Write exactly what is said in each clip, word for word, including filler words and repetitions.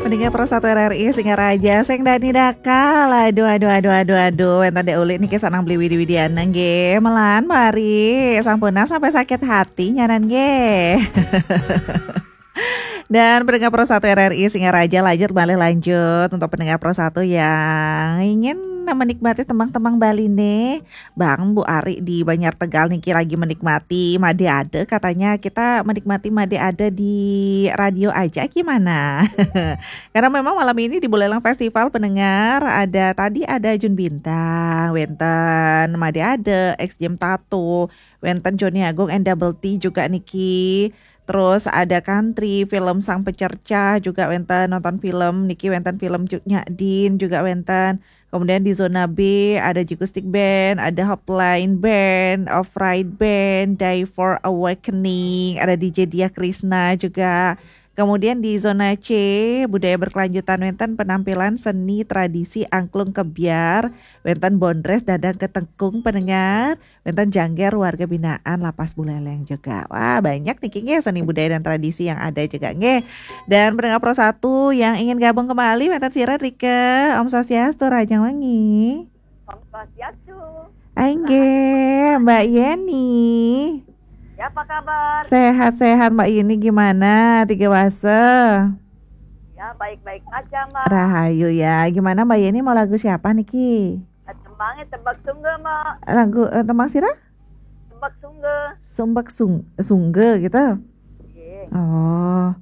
Pendengar Pro satu R R I Singaraja, sing dani dakal. Aduh, aduh, aduh, aduh, aduh. Wénten Dék Ulik niki sanang beli widi-widian nggih. Melan mari sampunang sampai sakit hati nyanan nggih. Dan pendengar Pro satu R R I Singaraja, lanjut balik lanjut untuk pendengar Pro satu yang ingin menikmati tembang-tembang Bali nih. Bang, Bu Ari di Banjar Tegal niki lagi menikmati Made Ade. Katanya kita menikmati Made Ade di radio aja gimana? Karena memang malam ini di Buleleng Festival pendengar ada tadi ada Jun Bintang, wénten Made Ade, X Jam Tato, wénten Joni Agung and Double T juga niki. Terus ada country, film Sang Pecercah juga wénten nonton film niki, wénten film Cut Nyak Din juga wénten. Kemudian di zona B ada Jikustik Band, ada Hopline Band, Off Ride Band, Die for Awakening, ada D J Dia Krisna juga. Kemudian di zona C, budaya berkelanjutan wénten penampilan seni tradisi angklung kebyar, wénten Bondres Dadang Ketekung pendengar, wénten Jangger warga binaan Lapas Buleleng juga. Wah, banyak niki nggih seni budaya dan tradisi yang ada juga nggih. Dan pendengar Pro satu yang ingin gabung kembali, wénten sira Rike. Om Swastiastu, Rahajeng Wengi. Om Swastiastu. Inggih, Mbak Yeni. Ya, apa kabar? Sehat-sehat Mbak Yeni, gimana? Tiga wase. Ya, baik-baik aja, Mbak. Rahayu ya. Gimana Mbak Yeni, mau lagu siapa niki? Tembangnya Tembak Sungge, Mbak. Lagu eh, tembang sira? Tembak Sungge. Sumbak sung, sungge gitu. Nggih. Oh,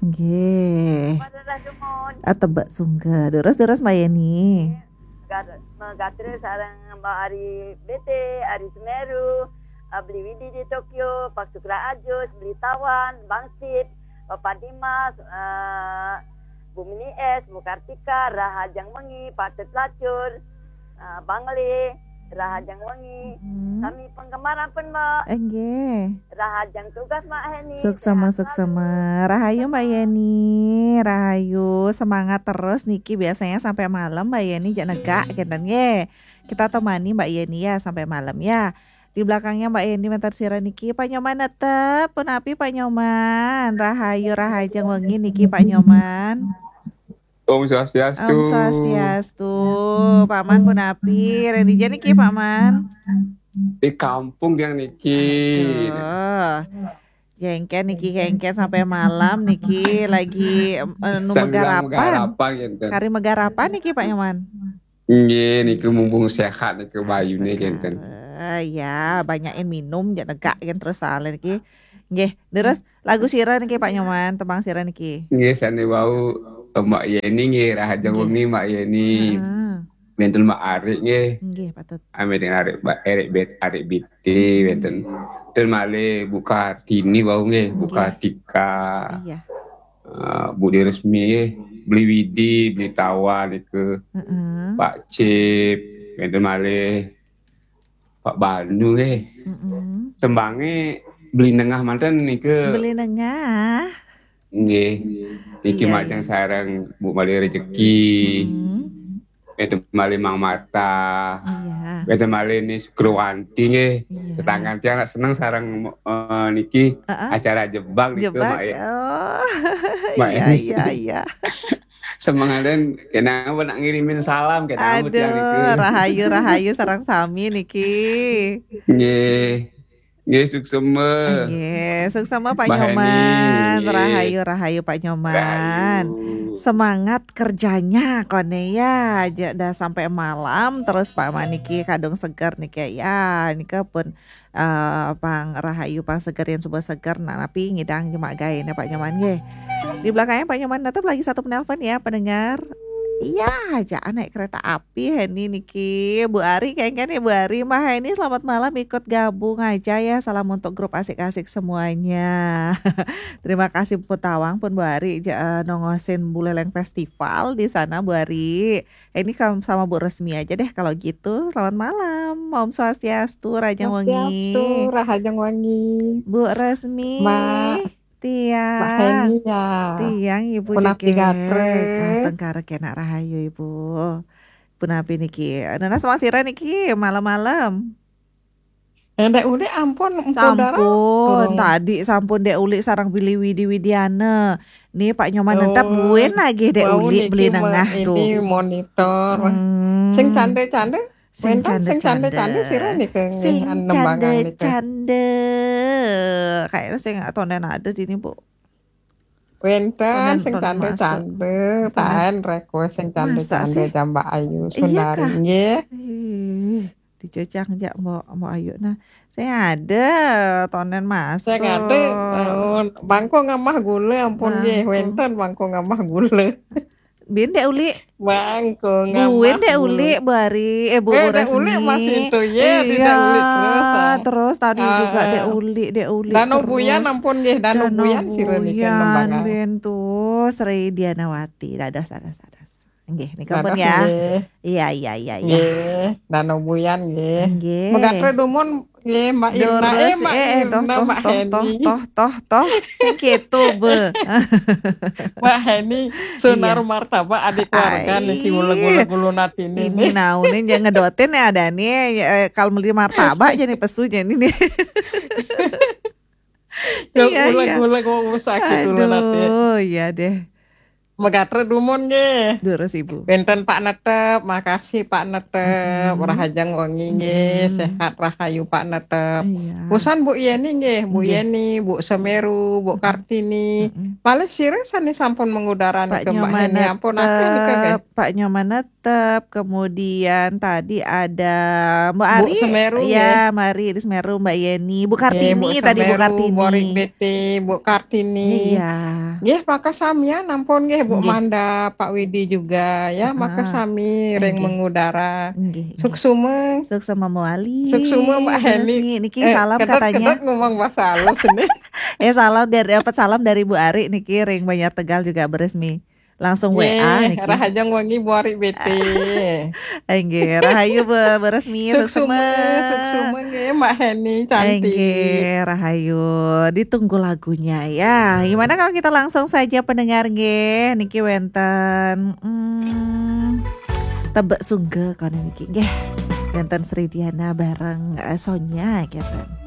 nggih. Pada dah demun. Ah, Tebak Sungge. Terus terus Mbak Yeni. Nggih. Gat-, megatri sareng Mbak Ari B T, Ari Semeru, eh, Beli Widi di Tokyo, Pak Sukra Ajus, Beli Tawan, Bang Sip, Bapak Dimas, eh, Bu Mini S, Bu Kartika, Rahajeng Wengi, Patut Lacur, eh, Bang Le, Rahajeng Wengi. Hmm. Kami penggemar pun, Mbak. Enggih. Rahajeng tugas, Mbak Heni. Suksema, sehat suksema. Selalu. Rahayu Mbak Yeni, rahayu, semangat terus niki, biasanya sampai malam Mbak Yeni jak negak kenten nggih. Kita temani Mbak Yeni ya sampai malam ya. Di belakangnya Mbak Yeni mentar sira niki Pak Nyoman netep, punapi Pak Nyoman? Rahayu, Rahajeng Wengi niki Pak Nyoman. Om Swastiastu. Om Swastiastu. Paman punapi? Reni jani ki Paman? Di kampung yang niki. Aduh. Jengken niki, jengken sampai malam niki lagi eh, nu Sambilang megarapan. Megarapan gitu. Kari megarapan niki Pak Nyoman? Nggih, niku mumpung sehat niku bayune kenten. Eh, ya, banyakin minum, jak negak kan terus soalnya niki. Nggih, terus lagu sira niki Pak Nyoman, tembang sira niki. Nggih, sane wau eh, Mbak Yeni nggih, Rahajeng Wengi Mbak Yeni. Heeh. Wenten Mbak Arik nggih. Nggih, patut. Ame dengan Arik Mbak Erik Bet Arik B T wenten. Dan malih Bu Kartini wau nggih, Bu Kartika. Iya. Eh, Bu Diresmi nggih, Beli Widi, Beli Tawan niku. Heeh. Pak Cip, wenten malih Pak Banu nggih. Heeh. Tembange Beli Nengah manten niku. Beli Nengah. Nggih. Niki iya, majeng iya. Sareng Bu Mali Rejeki. Hmm. Wénten malih Mang Mata. Iya. Wénten malih Ni Sukrowanti nggih. Iya. Tetanggan tiang nak seneng sareng eh, niki heeh. Acara Jebak niku Jebak. Mak ya. Oh. Mak iya, ya. Iya, iya. Semangaten kenapa nak ngirimin salam kenapa tiang niku. Aduh, rahayu, rahayu sareng sami niki. Nggih. Nggih, suksema. Nggih, suksema Pak Mbak Nyoman. Heni, nggih. Rahayu, rahayu Pak Nyoman. Rahayu. Semangat kerjanya kone ya, aja dah sampai malam terus Pak Maniki kadung seger niki ya. Nika pun eh, pang rahayu pang seger yang subuh seger nah tapi ngidang jemak gaene Pak Nyoman nggih. Di belakangnya Pak Nyoman tetap lagi satu penelpon ya pendengar. Iya aja naik kereta api Heni niki. Bu Ari kengken ya Bu Ari. Mbak Heni selamat malam ikut gabung aja ya. Salam untuk grup asik-asik semuanya. Terima kasih pun tawang pun Bu Ari ja- eh, nongosin Buleleng Festival di sana Bu Ari. Ini kam- sama Bu Resmi aja deh kalau gitu. Selamat malam. Om Swastiastu, Rahajeng Wengi. Swastiastu, Rahajeng Wengi. Bu Resmi. Mbak. Tiang. Mbak Heni ya. Tiang Ibu punapi Jegek. Gatrek. Astengkara kena rahayu Ibu. Punapi niki. Nana sama sira niki malam-malam. Dek Uli ampun, Empu Dara. Sampun, tadi sampun Dek Uli sareng Billy Widi Widiana. Nih Pak Nyoman Nentap, buen lagi Dek Uli beli nengah, duh. Ini monitor. Hmm. Sing cande-cande. Sing Wénten sing cande-cande. Cande-cande sira nika nggih, Sing nembangan nika. Cande-cande. Kayaknya sing tonden ada di ini, Bu. Wénten Tonden, sing tonden masuk. Cande-cande, Tonden. Taen request sing Masa Cande-cande sih? jambak ayu Iya, Sundari Kak. Nggih. Ih, dicocang jak Mbok Mbok Ayu. Nah, saya ada tonden masuk. Saya kate, oh, bangko ngamah gula ampun nggih, Bangko. Wénten bangko ngamah gula. Bin Dek Uli. Bangko ngamah Buin Dek gula. Uli, Bu Ari, eh Bu Eh, Bu Dek Uli Resmi. masih itu, ya, di Dek Uli terus, ah. Terus tadi juga Ah. Dek Uli, Dek Uli Dano terus. Buyan ampun nggih, Dano Dano Buyan sira niki Buyan, nembangan. Bin tuh, Sri Dianawati. Dados, dados, dados. Nggih, nika pun Dados ya. nggih. Iya, iya, iya, iya. Nggih, Dano Buyan nggih. Nggih. Megatre dumun nggih, Mbak Irna. Eh, Terus, Mbak eh, eh, toh, Irna, toh, Mbak toh, Heni. toh, toh, toh, toh. Sing gitu, Be. Mbak Heni, Sunar Iya. Martabak, adik keluarga Ai. niki uleg-uleg ulun atine Ini nih. naune jangan ngedotin ya ada nih, eh, kalau beli martabak jadi pesu jadi nih. Iya, iya. Uleg-uleg mau sakit ulun ati. Aduh, iya deh. Megatre dumun nggih. Durus Ibu. Wénten Pak Netep, makasih Pak Netep. Mm-mm. Rahajeng wengi nggih, Mm-mm. sehat rahayu Pak Netep. Iya. Usan Bu Yeni nggih, Bu Nggih. Yeni, Bu Semeru, Bu Mm-mm. Kartini. Mm-mm. Malih sira sané sampun mengudara Pak nika Mbak Nyoman Heni, ampun akeh nika nggih. Netep, Pak Nyoman Netep, kemudian tadi ada Mbak Bu Ari, Semeru ya, nggih. Mbak Ari di Semeru, Mbak Yeni, Bu Nggih, Kartini Bu tadi, Bu Semeru, Kartini. Borik Beti, Bu Kartini. Iya. Nggih, maka samian ampun nggih, Bu Nggih. Manda, Pak Widi juga ya, maka Heeh. sami ring Nggih. mengudara. Nggih, nggih. Suksuma. Suksma mawali. Suksuma, Mbak Bu Heni. Resmi. Niki Eh, salam kedot, katanya. Kedot ngomong bahasa halus ini. Eh, salam dari, dapat salam dari Bu Ari niki ring Banjar Tegal juga Bu Resmi. Langsung W A Nggih, niki. Rahajeng wengi Bu Ari Beti. Enggih, rahayu Bu, Bu Resmi, Suksuma, suksma. Suksuma nggih, Mbak Heni cantik. Enggih, rahayu. Ditunggu lagunya ya. Gimana kalau kita langsung saja pendengar nggih? Niki wénten, hmm, Tebek Sungga kono niki nggih. Wénten Sri Diana bareng, eh, Sonya gitu.